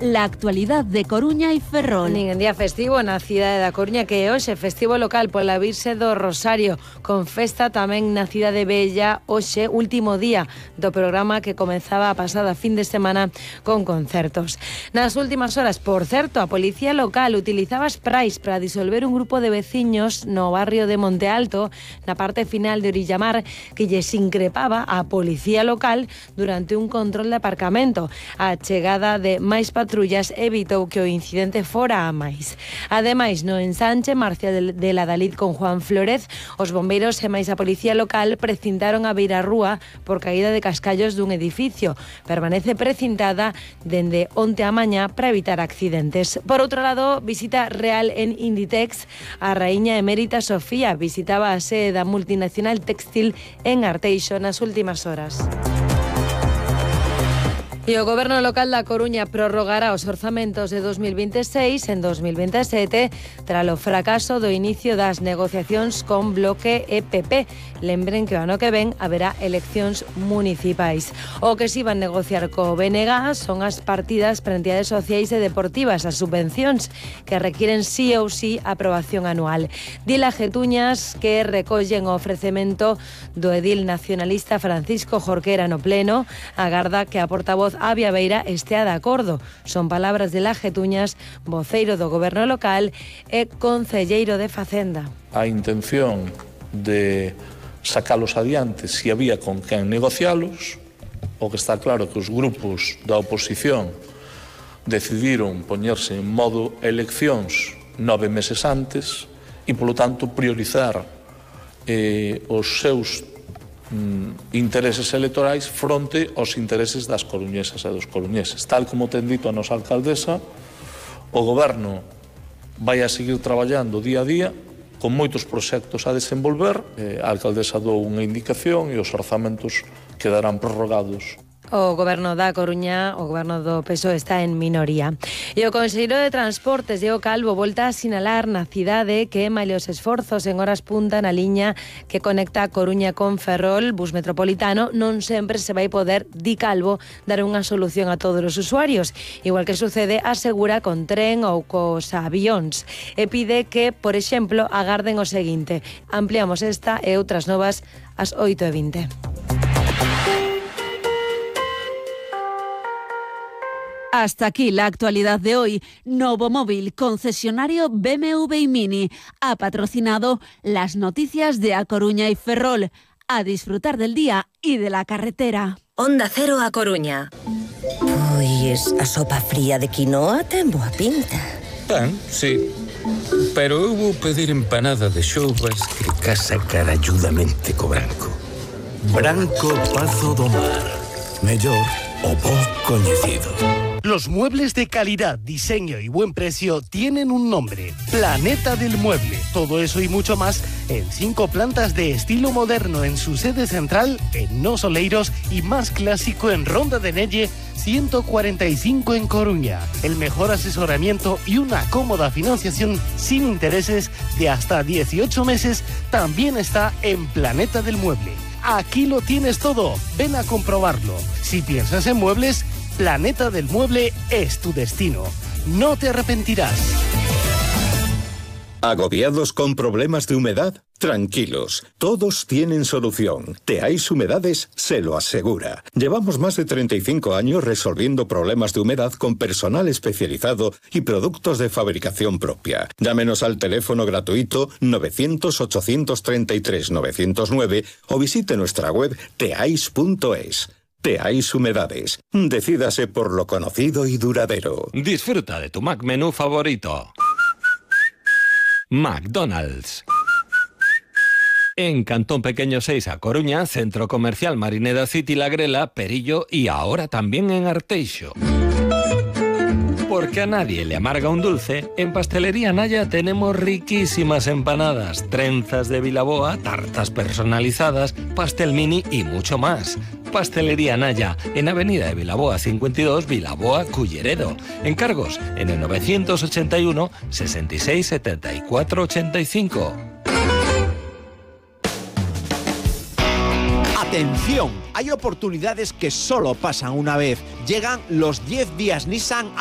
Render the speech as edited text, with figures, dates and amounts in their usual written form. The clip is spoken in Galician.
la actualidad de Coruña y Ferrol. Nin en día festivo na cidade da Coruña, que é hoxe festivo local pola Virxe do Rosario, con festa tamén na cidade Bella, hoxe último día do programa que comezaba a pasada fin de semana con concertos. Nas últimas horas, por certo, a policía local utilizaba sprays para disolver un grupo de veciños no barrio de Monte Alto, na parte final de Orillamar, que lles increpaba a policía local durante un control de aparcamento. A chegada de máis patrullas evitou que o incidente fora a máis. Ademais, no ensanche Marcia de la Dalid con Juan Flórez, os bombeiros e máis a policía local precintaron a beirarrúa por caída de cascallos dun edificio. Permanece precintada dende onte a mañá para evitar accidentes. Por outro lado, visita real en Inditex. A raíña emérita Sofía visitaba a sede da multinacional textil en Arteixo nas últimas horas. E o Goberno local da Coruña prorrogará os orzamentos de 2026 en 2027 tras o fracaso do inicio das negociacións con Bloque e PP. Lembren que o ano que ven haberá eleccións municipais. O que se van negociar co BNG son as partidas para entidades sociais e deportivas, as subvencións, que requieren sí ou sí aprobación anual. Dila Getuñas, que recollen o ofrecemento do edil nacionalista Francisco Jorquera no pleno, agarda que a portavoz Avia Beira estea de acordo. Son palabras de La Getuñas, voceiro do Goberno local e concelleiro de Facenda. A intención de sacalos adiante se había con quen negocialos, o que está claro que os grupos da oposición decidiron poñerse en modo eleccións 9 meses antes e, polo tanto, priorizar os seus intereses electorais fronte aos intereses das coruñesas e dos coruñeses. Tal como ten dito a nosa alcaldesa, o Goberno vai a seguir traballando día a día con moitos proxectos a desenvolver. A alcaldesa dou unha indicación e os orzamentos quedarán prorrogados. O Goberno da Coruña, o Goberno do PSOE, está en minoría. E o Conselleiro de Transportes, Diego Calvo, volta a sinalar na cidade que malia os esforzos en horas punta na liña que conecta a Coruña con Ferrol, bus metropolitano, non sempre se vai poder, di Calvo, dar unha solución a todos os usuarios. Igual que sucede, asegura, con tren ou cos avións. E pide que, por exemplo, agarden o seguinte. Ampliamos esta e outras novas ás 8:20. Hasta aquí la actualidad de hoy. Novomóvil, concesionario BMW y Mini, ha patrocinado las noticias de A Coruña y Ferrol. A disfrutar del día y de la carretera. Onda Cero A Coruña. Pois a sopa fría de quinoa ten boa pinta. Pan, sí. Pero eu vou pedir empanada de xoubas que casa caralludamente co branco. Branco Pazo do Mar. Mellor o bo coñecido. Los muebles de calidad, diseño y buen precio tienen un nombre: Planeta del Mueble. Todo eso y mucho más en 5 plantas de estilo moderno en su sede central en Nos Oleiros y más clásico en Ronda de Nelle 145 en Coruña. El mejor asesoramiento y una cómoda financiación sin intereses de hasta 18 meses también está en Planeta del Mueble. Aquí lo tienes todo. Ven a comprobarlo. Si piensas en muebles, Planeta del Mueble es tu destino. No te arrepentirás. ¿Agobiados con problemas de humedad? Tranquilos, todos tienen solución. Teais Humedades se lo asegura. Llevamos más de 35 años resolviendo problemas de humedad con personal especializado y productos de fabricación propia. Llámenos al teléfono gratuito 900-833-909 o visite nuestra web teais.es. Teais Humedades. Decídase por lo conocido y duradero. Disfruta de tu Mac menú favorito. McDonald's. En Cantón Pequeño 6 a Coruña, Centro Comercial Marineda City La Grela, Perillo y ahora también en Arteixo. Porque a nadie le amarga un dulce, en Pastelería Naya tenemos riquísimas empanadas, trenzas de Vilaboa, tartas personalizadas, pastel mini y mucho más. Pastelería Naya, en Avenida de Vilaboa 52, Vilaboa, Culleredo. Encargos en el 981 66 74 85. ¡Atención! Hay oportunidades que solo pasan una vez. Llegan los 10 días Nissan